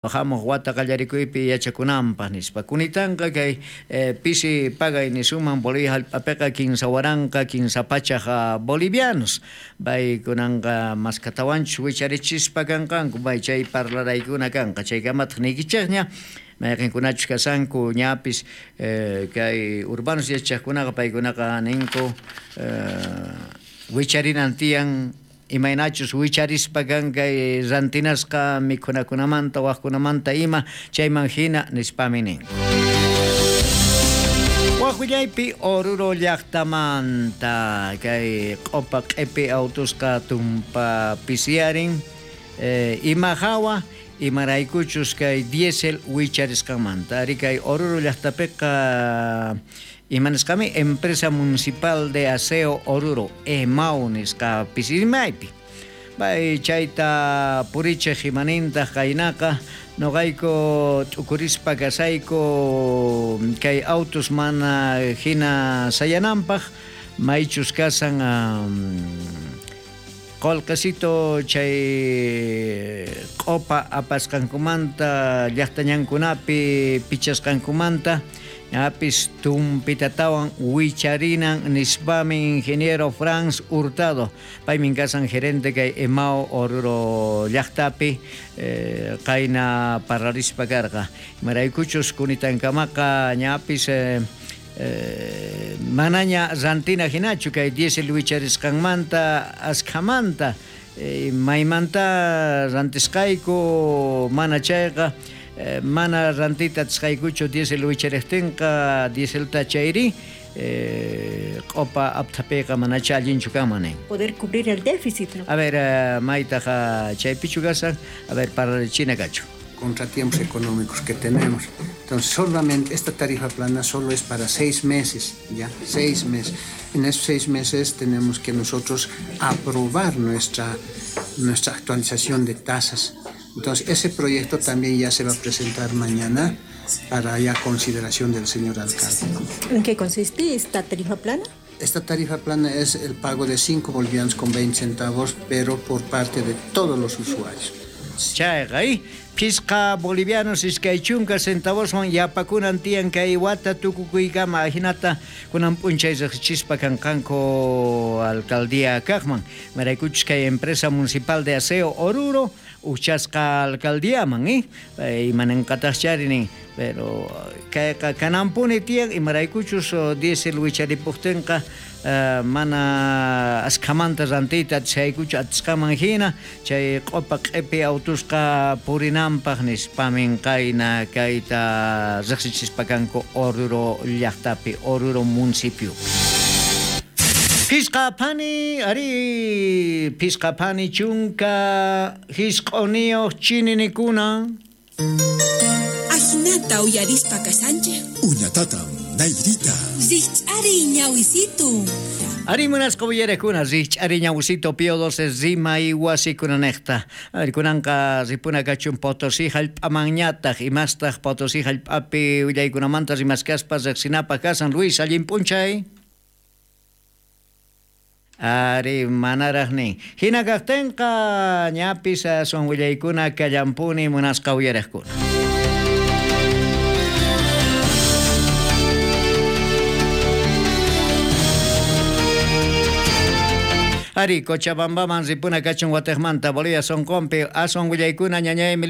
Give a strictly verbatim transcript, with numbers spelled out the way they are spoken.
Hamuq wata qallarikuypi yachakunanpaq nispa kunitanqa kay eh, pisi pagay nisuman Bolivia hallp'apiqa kinsa waranqa kinsa pachaq bolivianos paykunanqa maskatawanchus wicharichispa kanqanku pay chay parlaraykuna kanqa chaykamataq niykichikña mayqinkunachus kasanku ñapis eh, kay urbanos yachaqkunaqa paykunaqa ninku eh, wicharinan tiyan imaynachus wicharispa kan kay rantinasqa mikhunakunamanta waqkunamanta ima chayman hina nispami nin. Waqwillaypi Oruro llaqtamanta kay q'upa q'ipi autusqa tumpa pisiyarin eh, ima hawa imaraykuchus kay diésel wicharisqanmanta ari kay Oruro llaqtapiqa imanisqami Empresa Municipal de Aseo Oruro EMAU nisqa pisimaypi pay chayta purichiq imanintaq qaynaqa noqayku t'ukurispa kasayku kay autos mana hina sayananpaq maychus kasan um, qolqesito chay q'upa apasqankumanta llaqtañankunapi pichasqankumanta ñapis tumpitatawan wicharinan nispami ingeniero Franz Hurtado paymin kasan gerente kay EMAU Oruro llaqtapi eh, qayna parlarispa karqa imaraykuchus kunitankamaqa ñapis eh, eh, manaña rantina hinachu kay diésel wicharisqanmanta askhamanta eh, maymanta rantisqayku mana chayqa Eh, mana rantita atisqaykuchu diésel wichariqtinqa dieselta chayri eh, q'upa apthapiqa manacha allinchu kanman nin. Poder cubrir el déficit, ¿no? A ver, eh, maytaqa chaypichu kasan, a ver, parlarichina kachu. Contratiempos económicos que tenemos. Entonces, solamente esta tarifa plana solo es para seis meses, ¿ya? Seis meses. En esos seis meses tenemos que nosotros aprobar nuestra, nuestra actualización de tasas. Entonces, ese proyecto también ya se va a presentar mañana para ya consideración del señor alcalde. ¿En qué consiste esta tarifa plana? Esta tarifa plana es el pago de cinco bolivianos con veinte centavos, pero por parte de todos los usuarios. Chayqa, phisqa bolivianos iskay chunka centavoswan yapakunan tiyan kay wata tukukuykama ajinata kunan p'unchay riqsichispa kanqanku alcaldía kaqman maraykuchus kay Empresa Municipal de Aseo Oruro uchasqa alcaldíaman eh imananqataqchari nin pero kayqa kananpuni tiyan imaraykuchus diésel wicharipuktinqa Uh, mana askhamanta rantiyta atisqaykuchu atisqaman hina chay q'upa q'ipi autusqa purinanpaq nispamin qayna kayta riqsichispa kanku Oruro llaqtapi Oruro municipio. Phisqa phani ari phisqa phani chunka hisq'uniyuq chininikuna Ajinata uyarispa kasanchej Uñatatam Nairita. Rich'ari ñawisitu. Ari munasqa uyarekuna rich'ari ñawisitu Pío doce rimay wasikunanejta. A ver, kunanqa ripuna kachun Potosí hallp'amanñataq imastaq Potosí hallp'api willaykunamanta rimaskaspa riqsinapaq kasan. Luis, allin p'unchay. Ari manaraq nin. Hina kaqtinqa ñapis aswan willaykuna kallampuni munasqa uyariqkuna. Ari, Cochabambaman ripuna kachun watejmanta, Bolivia sonqonpi aswan willaykuna ñañay Emiliano.